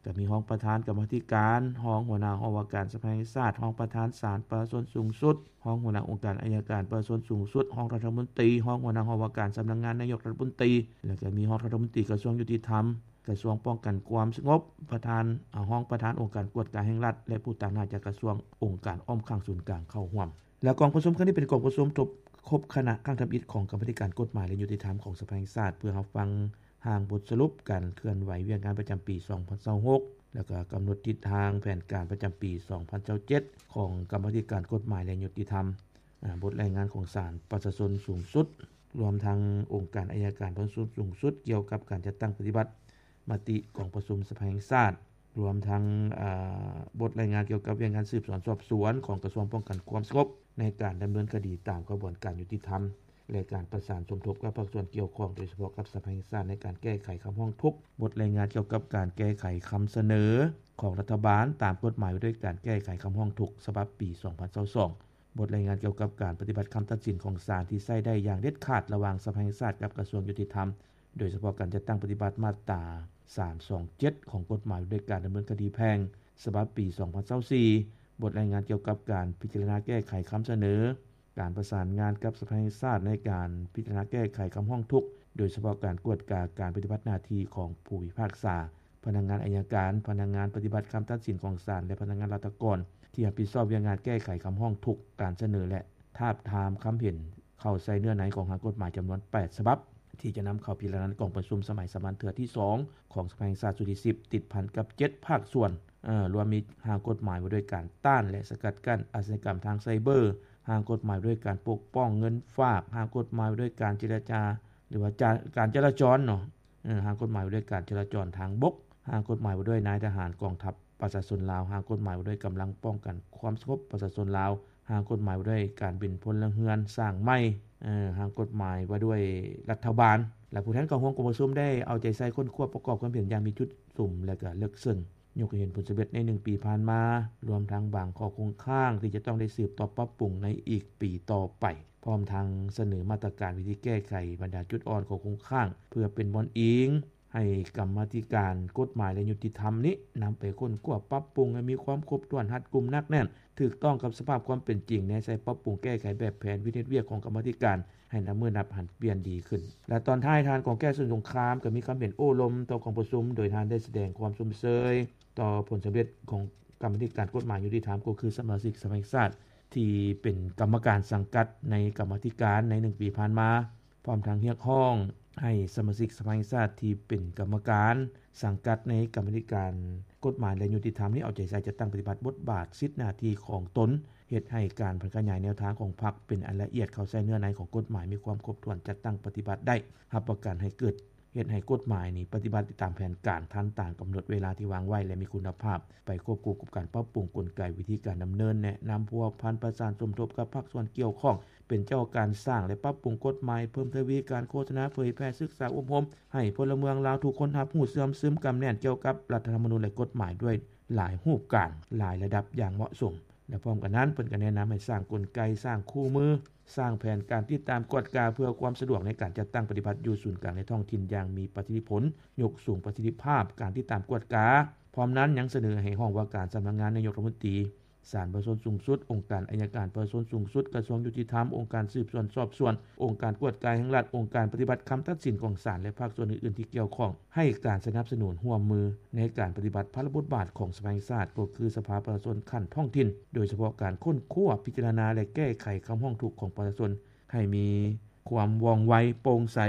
ກະມີຮອງປະທານກຳມາທິການ, ຮອງຫົວໜ້າຫ້ອງວ່າການສະພາແຫ່ງຊາດ, ຮອງປະທານສານປະຊາຊົນສູງສຸດ, ຮອງຫົວໜ້າອົງການໄອຍະການປະຊາຊົນສູງສຸດ, ຮອງລັດຖະມົນຕີ, ຮອງຫົວໜ້າຫ້ອງວ່າການສຳນັກງານນາຍົກລັດຖະມົນຕີ ແລະ ກະມີຮອງລັດຖະມົນຕີກະຊວງຍຸຕິທຳ, ກະຊວງປ້ອງກັນຄວາມສະຫງົບ, ປະທານ, ອາ, ຮອງປະທານອົງການກວດກາແຫ່ງລັດ ແລະ ຜູ້ຕາງໜ້າຈາກກະຊວງ, ອົງການອ້ອມຂ້າງສູນກາງເຂົ້າຮ່ວມ. ແລະ ກອງປະຊຸມຄັ້ງນີ້ເປັນກອງປະຊຸມທົບຄົບຄະນະຄັ້ງທຳອິດຂອງກຳມາທິການກົດໝາຍ ແລະ ຍຸຕິທຳຂອງສະພາແຫ່ງຊາດ ເພື່ອຮັບຟັງຮ່າງບົດສະຫຼຸບການເຄື່ອນໄຫວວຽກງານປະຈຳປີສອງພັນຊາວຫົກ ແລ້ວກໍກຳນົດທິດທາງແຜນການປະຈຳປີສອງພັນຊາວເຈັດຂອງກຳມາທິການກົດໝາຍ ແລະ ຍຸຕິທຳ, ອາ, ບົດລາຍງານຂອງສານປະຊາຊົນສູງສຸດ ລວມທັງອົງການໄອຍະການປະຊາຊົນສູງສຸດ ກ່ຽວກັບການຈັດຕັ້ງປະຕິບັດມະຕິກອງປະຊຸມສະພາແຫ່ງຊາດ ລວມທັງ, ອາ, ບົດລາຍງານກ່ຽວກັບວຽກງານສືບສວນສອບສວນຂອງກະຊວງປ້ອງກັນຄວາມສະຫງົບ ໃນການດຳເນີນຄະດີຕາມຂະບວນການຍຸຕິທຳ ແລະ ການປະສານສົມທົບກັບພາກສ່ວນກ່ຽວຂ້ອງ, ໂດຍສະເພາະກັບສະພາແຫ່ງຊາດ ໃນການແກ້ໄຂຄຳຮ້ອງທຸກ, ບົດລາຍງານກ່ຽວກັບການແກ້ໄຂຄຳສະເໜີຂອງລັດຖະບານຕາມກົດໝາຍວ່າດ້ວຍການແກ້ໄຂຄຳຮ້ອງທຸກ ສະບັບປີສອງພັນຊາວສອງ, ບົດລາຍງານກ່ຽວກັບການປະຕິບັດຄຳຕັດສິນຂອງສານທີ່ໃຊ້ໄດ້ຢ່າງເດັດຂາດລະຫວ່າງສະພາແຫ່ງຊາດກັບກະຊວງຍຸຕິທຳ, ໂດຍສະເພາະການຈັດຕັ້ງປະຕິບັດມາດຕາສາມສອງເຈັດຂອງກົດໝາຍວ່າດ້ວຍການດຳເນີນຄະດີແພ່ງ ສະບັບປີສອງພັນຊາວສີ່, ບົດລາຍງານກ່ຽວກັບການພິຈາລະນາແກ້ໄຂຄຳສະເໜີ, ການປະສານງານກັບສະພາແຫ່ງຊາດໃນການພິຈາລະນາແກ້ໄຂຄຳຮ້ອງທຸກ, ໂດຍສະເພາະການກວດກາການປະຕິບັດໜ້າທີ່ຂອງຜູ້ພິພາກສາ, ພະນັກງານໄອຍະການ, ພະນັກງານປະຕິບັດຄຳຕັດສິນຂອງສານ ແລະ ພະນັກງານລັດຖະກອນ ທີ່ຮັບຜິດຊອບວຽກງານແກ້ໄຂຄຳຮ້ອງທຸກ, ການສະເໜີ ແລະ ທາບທາມຄຳເຫັນເຂົ້າໃສ່ເນື້ອໃນຂອງຮ່າງກົດໝາຍຈຳນວນແປດສະບັບ ທີ່ຈະນຳເຂົ້າພິຈາລະນາໃນກອງປະຊຸມສະໄໝສາມັນເທື່ອທີສອງຂອງສະພາແຫ່ງຊາດຊຸດທີສິບ ຕິດພັນກັບເຈັດພາກສ່ວນ, ເອີ, ລວມມີຮ່າງກົດໝາຍວ່າດ້ວຍການຕ້ານ ແລະ ສະກັດກັ້ນອາຊະຍາກຳທາງໄຊເບີ, ຮ່າງກົດໝາຍວ່າດ້ວຍການປົກປ້ອງເງິນຝາກ, ຮ່າງກົດໝາຍວ່າດ້ວຍການເຈລະຈາ ຫຼືວ່າຈາ ການຈະລາຈອນເນາະ, ເອີ, ຮ່າງກົດໝາຍວ່າດ້ວຍການຈະລາຈອນທາງບົກ, ຮ່າງກົດໝາຍວ່າດ້ວຍນາຍທະຫານກອງທັບປະຊາຊົນລາວ, ຮ່າງກົດໝາຍວ່າດ້ວຍກຳລັງປ້ອງກັນຄວາມສະຫງົບປະຊາຊົນລາວ, ຮ່າງກົດໝາຍວ່າດ້ວຍການເປັນພົນລະເຮືອນສ້າງໃໝ່, ເອີ, ຮ່າງກົດໝາຍວ່າດ້ວຍລັດຖະບານ ແລະ ຜູ້ແທນເຂົ້າຮ່ວມກອງປະຊຸມໄດ້ເອົາໃຈໃສ່ຄົ້ນຄວ້າປະກອບຄວາມເຫັນຢ່າງມີຈຸດສຸມ ແລະ ກະເລິກເຊິ່ງ. ຍົກໃຫ້ເຫັນຜົນສຳເລັດໃນໜຶ່ງປີຜ່ານມາ, ລວມທັງບາງຂໍ້ຄົງຄ້າງທີ່ຈະຕ້ອງໄດ້ສືບຕໍ່ປັບປຸງໃນອີກປີຕໍ່ໄປ, ພ້ອມທັງສະເໜີມາດຕະການວິທີແກ້ໄຂບັນດາຈຸດອ່ອນ, ຂໍ້ຄົງຄ້າງ ເພື່ອເປັນບ່ອນອີງໃຫ້ກຳມາທິການກົດໝາຍ ແລະ ຍຸຕິທຳນີ້ນຳໄປຄົ້ນຄວ້າປັບປຸງໃຫ້ມີຄວາມຄົບຖ້ວນ, ຮັດກຸມ, ໜັກແໜ້ນ, ຖືກຕ້ອງກັບສະພາບຄວາມເປັນຈິງ, ແນໃສ່ປັບປຸງແກ້ໄຂແບບແຜນວິທີເຮັດວຽກຂອງກຳມາທິການ ໃຫ້ນັບມື້ນັບຫັນປ່ຽນດີຂຶ້ນ. ແລະ ຕອນທ້າຍ, ທ່ານ ກອງແກ້ວ ສຸນສົງຄາມ ກໍມີຄຳເຫັນໂອ້ລົມຕໍ່ກອງປະຊຸມ, ໂດຍທ່ານໄດ້ສະແດງຄວາມຊົມເຊີຍຕໍ່ຜົນສຳເລັດຂອງກຳມາທິການກົດໝາຍຍຸຕິທຳ, ກໍຄືສະມາຊິກສະພາແຫ່ງຊາດທີ່ເປັນກຳມະການສັງກັດໃນກຳມາທິການໃນໜຶ່ງປີຜ່ານມາ, ພ້ອມທັງຮຽກຮ້ອງໃຫ້ສະມາຊິກສະພາແຫ່ງຊາດທີ່ເປັນກຳມະການສັງກັດໃນກຳມາທິການກົດໝາຍ ແລະ ຍຸຕິທຳນີ້ເອົາໃຈໃສ່ຈັດຕັ້ງປະຕິບັດບົດບາດ, ສິດ, ໜ້າທີ່ຂອງຕົນ, ເຮັດໃຫ້ການຜັນຂະຫຍາຍແນວທາງຂອງພັກເປັນອັນລະອຽດ, ເຂົ້າໃສ່ເນື້ອໃນຂອງກົດໝາຍມີຄວາມຄົບຖ້ວນ, ຈັດຕັ້ງປະຕິບັດໄດ້, ຮັບປະກັນໃຫ້ເກີດ ເຮັດໃຫ້ກົດໝາຍນີ້ປະຕິບັດຕາມແຜນການ, ທັນຕາມກຳນົດເວລາທີ່ວາງໄວ້ ແລະ ມີຄຸນນະພາບ, ໄປຄວບຄູ່ກັບການປັບປຸງກົນໄກ, ວິທີການດຳເນີນ, ແນະນຳ, ພົວພັນ, ປະສານສົມທົບກັບພາກສ່ວນກ່ຽວຂ້ອງ, ເປັນເຈົ້າການສ້າງ ແລະ ປັບປຸງກົດໝາຍ, ເພີ່ມທະວີການໂຄສະນາ, ເຜີຍແຜ່, ສຶກສາ, ອົບຮົມໃຫ້ພົນລະເມືອງລາວທຸກຄົນຮັບຮູ້ເຊື່ອມຊຶມ, ກຳແໜ້ນກ່ຽວກັບລັດຖະທຳມະນູນ ແລະ ກົດໝາຍດ້ວຍ ຫຼາຍຮູບການ, ຫຼາຍລະດັບຢ່າງເໝາະສົມ. ແລະ ພ້ອມກັນນັ້ນ, ເພິ່ນກໍແນະນຳໃຫ້ສ້າງກົນໄກ, ສ້າງຄູ່ມື, ສ້າງແຜນການຕິດຕາມກວດກາເພື່ອຄວາມສະດວກໃນການຈັດຕັ້ງປະຕິບັດຢູ່ສູນກາງ ແລະ ທ້ອງຖິ່ນຢ່າງມີປະສິດທິຜົນ, ຍົກສູງປະສິດທິພາບການຕິດຕາມກວດກາ. ພ້ອມນັ້ນ, ຍັງສະເໜີໃຫ້ຫ້ອງວ່າການສຳນັກງານນາຍົກລັດຖະມົນຕີ, ສານປະຊາຊົນສູງສຸດ, ອົງການໄອຍະການປະຊາຊົນສູງສຸດ, ກະຊວງຍຸຕິທຳ, ອົງການສືບສວນສອບສວນ, ອົງການກວດກາແຫ່ງລັດ, ອົງການປະຕິບັດຄຳຕັດສິນຂອງສານ ແລະ ພາກສ່ວນອື່ນໆທີ່ກ່ຽວຂ້ອງ ໃຫ້ການສະໜັບສະໜູນຮ່ວມມືໃນການປະຕິບັດພາລະບົດບາດຂອງສະພາແຫ່ງຊາດ ກໍຄືສະພາປະຊາຊົນຂັ້ນທ້ອງຖິ່ນ, ໂດຍສະເພາະການຄົ້ນຄວ້າ, ພິຈາລະນາ ແລະ ແກ້ໄຂຄຳຮ້ອງທຸກຂອງປະຊາຊົນໃຫ້ມີຄວາມວ່ອງໄວ, ໂປ່ງໃສ,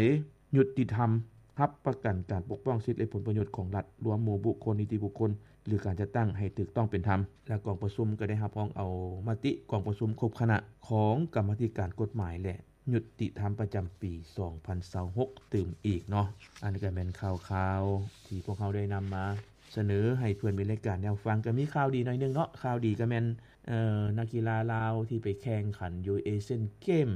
ຍຸຕິທຳ, ຮັບປະກັນການປົກປ້ອງສິດ ແລະ ຜົນປະໂຫຍດຂອງລັດ, ລວມໝູ່ບຸກຄົນ, ນິຕິບຸກຄົນ ຫຼື ການຈັດຕັ້ງໃຫ້ຖືກຕ້ອງເປັນທຳ. ແລະ ກອງປະຊຸມກໍໄດ້ຮັບຮອງເອົາມະຕິກອງປະຊຸມຄົບຄະນະຂອງກຳມາທິການກົດໝາຍ ແລະ ຍຸຕິທຳປະຈຳປີສອງພັນຊາວຫົກຕື່ມອີກເນາະ. ອັນນີ້ກໍແມ່ນຂ່າວຄາວທີ່ພວກເຮົາໄດ້ນຳມາສະເໜີໃຫ້ເພື່ອນມີລາຍການແນວຟັງ. ກໍມີຂ່າວດີໜ້ອຍໜຶ່ງເນາະ, ຂ່າວດີກໍແມ່ນ ເອີ ນັກກິລາລາວທີ່ໄປແຂ່ງຂັນຢູ່ເອຊຽນເກມ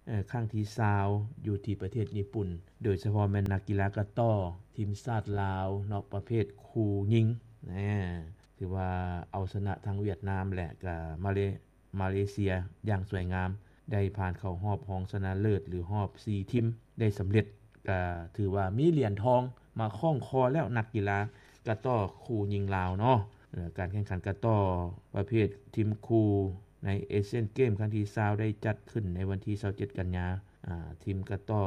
ເອີ ຄັ້ງທີຊາວຢູ່ທີ່ປະເທດຍີ່ປຸ່ນ, ໂດຍສະເພາະແມ່ນນັກກິລາກະຕໍ້ທີມຊາດລາວເນາະ ປະເພດຄູ່ຍິງ ແນ່ ຖືວ່າເອົາຊະນະທັງຫວຽດນາມ ແລະ ກະມາເລ ມາເລເຊຍຢ່າງສວຍງາມ, ໄດ້ຜ່ານເຂົ້າຮອບຮອງຊະນະເລີດ ຫຼື ຮອບສີ່ທີມໄດ້ສຳເລັດ, ກະຖືວ່າມີຫຼຽນທອງມາຄ້ອງຄໍແລ້ວ ນັກກິລາກະຕໍ້ຄູ່ຍິງລາວເນາະ. ເອີ ການແຂ່ງຂັນກະຕໍ້ປະເພດທີມຄູ່ໃນເອຊຽນເກມຄັ້ງທີຊາວ ໄດ້ຈັດຂຶ້ນໃນວັນທີຊາວເຈັດ ກັນຍາ ອາ ທີມກະຕໍ້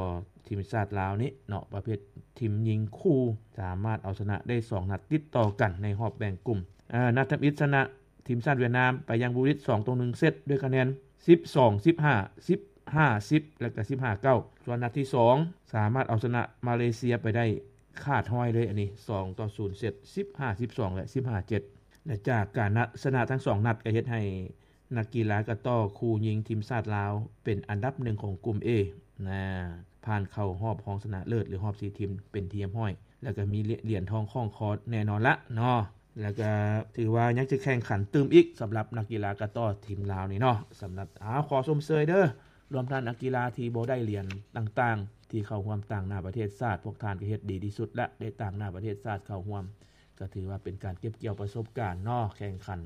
ທີມຊາດລາວນີ້ເນາະ ປະເພດທີມຍິງຄູ່ ສາມາດເອົາຊະນະໄດ້ສອງນັດຕິດຕໍ່ກັນໃນຮອບແບ່ງກຸ່ມ. ອາ ນັດທຳອິດຊະນະທີມຊາດຫວຽດນາມໄປຢ່າງຫວຸດຫວິດ ສອງຕໍ່ໜຶ່ງເຊັດ ດ້ວຍຄະແນນ ສິບສອງ ສິບຫ້າ ສິບຫ້າ ສິບ ແລະກະ ສິບຫ້າ ເກົ້າ. ສ່ວນນັດທີສອງ ສາມາດເອົາຊະນະມາເລເຊຍໄປໄດ້ຂາດຮ້ອຍເລີຍ ອັນນີ້ ສອງຕໍ່ສູນເຊັດ ສິບຫ້າ ສິບສອງ ແລະ ສິບຫ້າ ເຈັດ. ແລະຈາກການນະ ຊະນະທັງສອງນັດ ກໍເຮັດໃຫ້ ນັກກິລາກະຕໍ້ຄູ່ຍິງທີມຊາດລາວເປັນອັນດັບໜຶ່ງຂອງກຸ່ມ A ນະ ຜ່ານເຂົ້າຮອບຮອງຊະນະເລີດ ຫຼື ຮອບສີ່ທີມເປັນທີ່ຮຽບຮ້ອຍ ແລ້ວກໍມີຫຼຽນທອງຂ້ອງຄໍແນ່ນອນລະເນາະ. ແລ້ວກໍຖືວ່າຍັງຈະແຂ່ງຂັນຕື່ມອີກສຳລັບນັກກິລາກະຕໍ້ທີມລາວນີ້ເນາະ. ສຳລັບ ອາ ຂໍຊົມເຊີຍເດີ ລວມທັງນັກກິລາທີ່ບໍ່ໄດ້ຫຼຽນຕ່າງໆ ທີ່ເຂົ້າຮ່ວມຕາງໜ້າປະເທດຊາດ, ພວກທ່ານກໍເຮັດດີທີ່ສຸດລະ ໄດ້ຕາງໜ້າປະເທດຊາດເຂົ້າຮ່ວມ ກໍຖືວ່າເປັນການເກັບກ່ຽວປະສົບການເນາະ ແຂ່ງຂັນ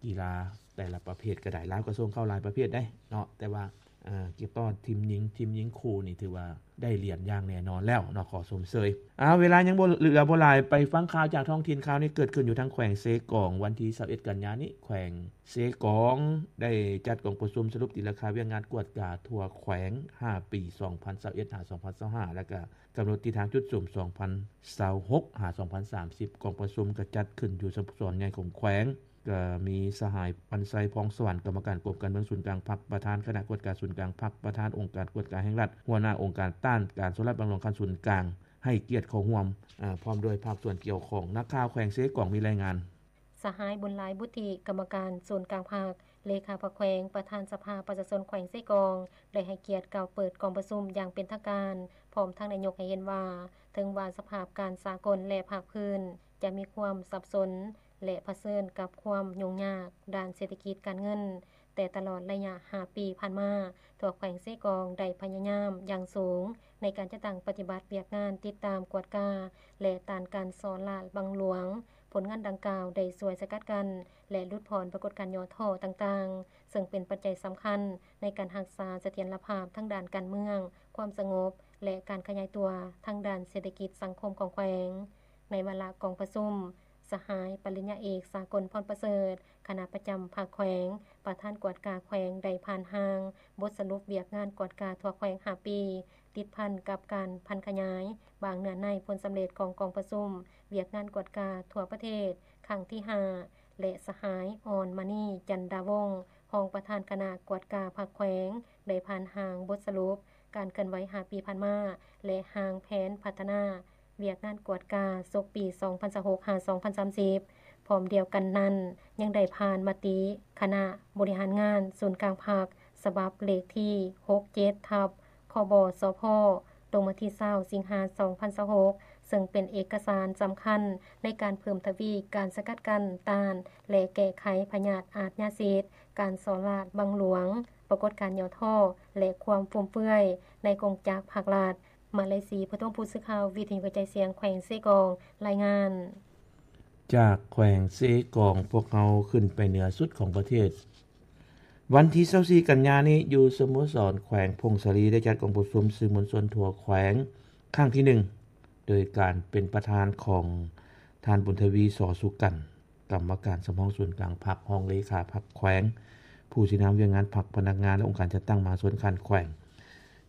ກິລາແຕ່ລະປະເພດກໍໄດ້ ລາວກໍສົ່ງເຂົ້າຫຼາຍປະເພດເດ້ເນາະ ແຕ່ວ່າ ເອີ ເກັບຕໍ່ທີມຍິງ ທີມຍິງຄູ່ນີ້ຖືວ່າໄດ້ຫຼຽນຢ່າງແນ່ນອນແລ້ວເນາະ ຂໍຊົມເຊີຍ. ເອົາ ເວລາຍັງບໍ່ເຫຼືອບໍ່ຫຼາຍ ໄປຟັງຂ່າວຈາກທ້ອງຖິ່ນ. ຂ່າວນີ້ເກີດຂຶ້ນຢູ່ທາງແຂວງເຊກອງ ວັນທີຊາວເອັດ ກັນຍານີ້ ແຂວງເຊກອງໄດ້ຈັດກອງປະຊຸມສະຫຼຸບຕີລາຄາວຽກງານກວດກາທົ່ວແຂວງຫ້າປີ ສອງພັນຊາວເອັດ ຫາ ສອງພັນຊາວຫ້າ ແລ້ວກະກຳນົດທິດທາງຈຸດສຸມ ສອງພັນຊາວຫົກ ຫາ ສອງພັນສາມສິບ. ກອງປະຊຸມກະຈັດຂຶ້ນຢູ່ສະໂມສອນໃຫຍ່ຂອງແຂວງ ກະມີສະຫາຍ ວັນໄຊ ພອງສະຫວັນ ກຳມະການກົມການເມືອງສູນກາງພັກ, ປະທານຄະນະກວດກາສູນກາງພັກ, ປະທານອົງການກວດກາແຫ່ງລັດ, ຫົວໜ້າອົງການຕ້ານການສໍ້ລາດບັງຫຼວງຂັ້ນສູນກາງ ໃຫ້ກຽດເຂົ້າຮ່ວມ ອາ ພ້ອມດ້ວຍພາກສ່ວນກ່ຽວຂ້ອງ. ນັກຂ່າວແຂວງເຊກອງມີລາຍງານ. ສະຫາຍ ບຸນຫຼາຍ ບຸດທິ ກຳມະການສູນກາງພັກ, ເລຂາພັກແຂວງ, ປະທານສະພາປະຊາຊົນແຂວງເຊກອງ ໄດ້ໃຫ້ກຽດກ່າວເປີດກອງປະຊຸມຢ່າງເປັນທາງການ, ພ້ອມທັງໄດ້ຍົກໃຫ້ເຫັນວ່າ ເຖິງວ່າສະພາບການສາກົນ ແລະ ພາກພື້ນ ຈະມີຄວາມສັບສົນ ແລະ ຜະເຊີນກັບຄວາມຫຍຸ້ງຍາກດ້ານເສດຖະກິດການເງິນ, ແຕ່ຕະຫຼອດໄລຍະຫ້າປີຜ່ານມາ, ທົ່ວແຂວງເຊກອງໄດ້ພະຍາຍາມຢ່າງສູງໃນການຈັດຕັ້ງປະຕິບັດວຽກງານຕິດຕາມ, ກວດກາ ແລະ ຕ້ານການສໍ້ລາດບັງຫຼວງ. ຜົນງານດັ່ງກ່າວໄດ້ຊ່ວຍສະກັດກັ້ນ ແລະ ຫຼຸດຜ່ອນປາກົດການຫຍໍ້ທໍ້ຕ່າງໆ, ເຊິ່ງເປັນປັດໄຈສຳຄັນໃນການຮັກສາສະຖຽນລະພາບທາງດ້ານການເມືອງ, ຄວາມສະຫງົບ ແລະ ການຂະຫຍາຍຕົວທາງດ້ານເສດຖະກິດສັງຄົມຂອງແຂວງ. ໃນວາລະກອງປະຊຸມ, ສະຫາຍ ປະລິນຍາເອກ ສາກົນ ພອນປະເສີດ ຄະນະປະຈຳພັກແຂວງ, ປະທານກວດກາແຂວງ ໄດ້ຜ່ານຮ່າງບົດສະຫຼຸບວຽກງານກວດກາທົ່ວແຂວງຫ້າປີ, ຕິດພັນກັບການຜັນຂະຫຍາຍບາງເນື້ອໃນຜົນສຳເລັດຂອງກອງປະຊຸມວຽກງານກວດກາທົ່ວປະເທດຄັ້ງທີຫ້າ ແລະ ສະຫາຍ ອອນມະນີ ຈັນດາວົງ ຮອງປະທານຄະນະກວດກາພັກແຂວງ ໄດ້ຜ່ານຮ່າງບົດສະຫຼຸບການເຄື່ອນໄຫວຫ້າປີຜ່ານມາ ແລະ ຮ່າງແຜນພັດທະນາວຽກງານກວດກາສົກປີສອງພັນຊາວຫົກ ຫາ ສອງພັນສາມສິບ. ພ້ອມດຽວກັນນັ້ນ ຍັງໄດ້ຜ່ານມະຕິຄະນະບໍລິຫານງານສູນກາງພັກ ສະບັບເລກທີຫົກເຈັດ ທັບ ຄບສພ ລົງວັນທີຊາວ ສິງຫາ ສອງພັນຊາວຫົກ ເຊິ່ງເປັນເອກະສານສຳຄັນໃນການເພີ່ມທະວີການສະກັດກັ້ນ, ຕ້ານ ແລະ ແກ້ໄຂພະຍາດອາດຍາສິດ, ການສໍ້ລາດບັງຫຼວງ, ປາກົດການຫຍໍ້ທໍ້ ແລະ ຄວາມຟຸມເຟືອຍໃນກົງຈັກພັກລັດ. ມາໄລສີ ຜະທົມ ຜູ້ສື່ຂ່າວວິທະຍຸກະຈາຍສຽງແຂວງເຊກອງ ລາຍງານ. ຈາກແຂວງເຊກອງ ພວກເຮົາຂຶ້ນໄປເໜືອສຸດຂອງປະເທດ. ວັນທີຊາວສີ່ ກັນຍານີ້ ຢູ່ສະໂມສອນແຂວງຜົ້ງສາລີ ໄດ້ຈັດກອງປະຊຸມສື່ມວນຊົນທົ່ວແຂວງຄັ້ງທີໜຶ່ງ ໂດຍການເປັນປະທານຂອງທ່ານ ບຸນທະວີ ສໍສຸກັນ ກຳມະການສຳຮອງສູນກາງພັກ, ຮອງເລຂາພັກແຂວງ, ຜູ້ຊີ້ນຳວຽກງານພັກ, ພະນັກງານ ແລະ ອົງການຈັດຕັ້ງມະຫາຊົນຂັ້ນແຂວງ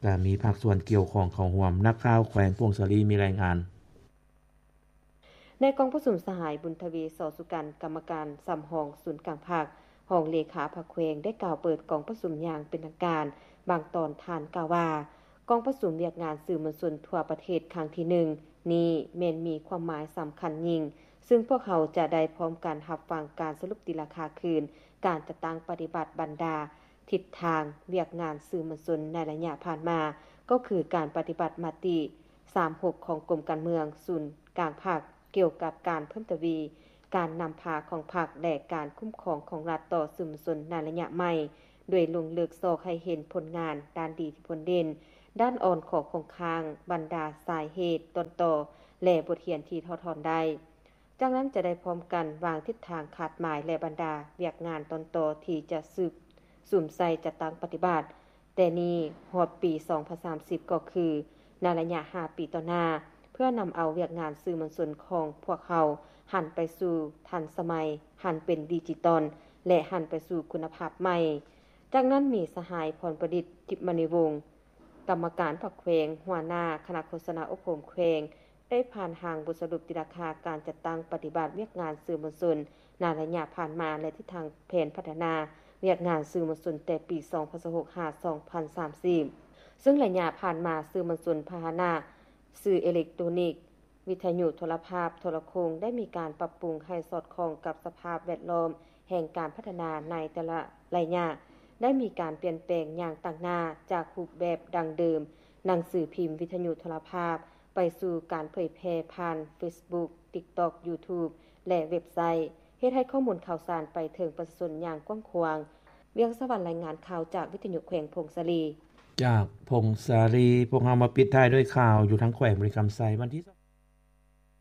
ແລະ ມີພາກສ່ວນກ່ຽວຂ້ອງເຂົ້າຮ່ວມ. ນັກຂ່າວແຂວງຜົ້ງສາລີມີລາຍງານ. ໃນກອງປະຊຸມ, ສະຫາຍ ບຸນທະວີ ສໍສຸກັນ ກຳມະການສຳຮອງສູນກາງພັກ, ຮອງເລຂາພັກແຂວງ ໄດ້ກ່າວເປີດກອງປະຊຸມຢ່າງເປັນທາງການ. ບາງຕອນທ່ານກ່າວວ່າ ກອງປະຊຸມວຽກງານສື່ມວນຊົນທົ່ວປະເທດຄັ້ງທີໜຶ່ງນີ້ ແມ່ນມີຄວາມໝາຍສຳຄັນຍິ່ງ, ຊຶ່ງພວກເຮົາຈະໄດ້ພ້ອມກັນຮັບຟັງການສະຫຼຸບຕີລາຄາຄືນ, ການຈັດຕັ້ງປະຕິບັດບັນດາທິດທາງວຽກງານສື່ມວນຊົນໃນໄລຍະຜ່ານມາ, ກໍຄືການປະຕິບັດມະຕິ ສາມຫົກ ຂອງກົມການເມືອງສູນກາງພັກ ກ່ຽວກັບການເພີ່ມທະວີການນຳພາຂອງພັກ ແລະ ການຄຸ້ມຄອງຂອງລັດຕໍ່ສື່ມວນຊົນໃນໄລຍະໃໝ່, ໂດຍລົງເລິກຊອກໃຫ້ເຫັນຜົນງານດ້ານດີທີ່ພົ້ນເດັ່ນ, ດ້ານອ່ອນ, ຂໍ້ຄົງຄ້າງ, ບັນດາສາເຫດ, ຕົ້ນຕໍ ແລະ ບົດຮຽນທີ່ຖອດຖອນໄດ້. ຈາກນັ້ນຈະໄດ້ພ້ອມກັນວາງທິດທາງຄາດໝາຍ ແລະ ບັນດາວຽກງານຕົ້ນຕໍທີ່ຈະສືບສຸມໃສ່ຈັດຕັ້ງປະຕິບັດ ແຕ່ນີ້ຮອດປີສອງພັນສາມສິບ ກໍຄືໃນໄລຍະຫ້າປີຕໍ່ໜ້າ, ເພື່ອນຳເອົາວຽກງານສື່ມວນຊົນຂອງພວກເຮົາຫັນໄປສູ່ທັນສະໄໝ, ຫັນເປັນດິຈິຕອນ ແລະ ຫັນໄປສູ່ຄຸນນະພາບໃໝ່. ຈາກນັ້ນມີສະຫາຍ ພອນປະດິດ ທິບມະນີວົງ ກຳມະການພັກແຂວງ, ຫົວໜ້າຄະນະໂຄສະນາອົບຮົມແຂວງ ໄດ້ຜ່ານຮ່າງບົດສະຫຼຸບຕີລາຄາການຈັດຕັ້ງປະຕິບັດວຽກງານສື່ມວນຊົນໃນໄລຍະຜ່ານມາ ແລະ ທິດທາງແຜນພັດທະນາວຽກງານສື່ມວນຊົນແຕ່ປີສອງພັນຊາວຫົກຫາສອງພັນສາມສິບ ເຊິ່ງໄລຍະຜ່ານມາສື່ມວນຊົນພາຫະນະສື່ເອເລັກໂຕນິກ, ວິທະຍຸໂທລະພາບ, ໂທລະໂຄ່ງ ໄດ້ມີການປັບປຸງໃຫ້ສອດຄ່ອງກັບສະພາບແວດລ້ອມແຫ່ງການພັດທະນາໃນແຕ່ລະໄລຍະ, ໄດ້ມີການປ່ຽນແປງຢ່າງຕັ້ງໜ້າຈາກຮູບແບບດັ້ງເດີມ, ໜັງສືພິມ, ວິທະຍຸໂທລະພາບ, ໄປສູ່ການເຜີຍແຜ່ຜ່ານເຟສບຸກ, ຕິກຕັອກ, ຢູທູບ ແລະ ເວັບໄຊ, ເຮັດໃຫ້ຂໍ້ມູນຂ່າວສານໄປເຖິງປະຊາຊົນຢ່າງກວ້າງຂວາງ. ວຽງສະຫວັນ ລາຍງານຂ່າວຈາກວິທະຍຸແຂວງຜົ້ງສາລີ. ຈາກຜົ້ງສາລີ, ພວກເຮົາມາປິດທ້າຍດ້ວຍຂ່າວຢູ່ທາງແຂວງບໍລິຄຳໄຊ. ວັນທີ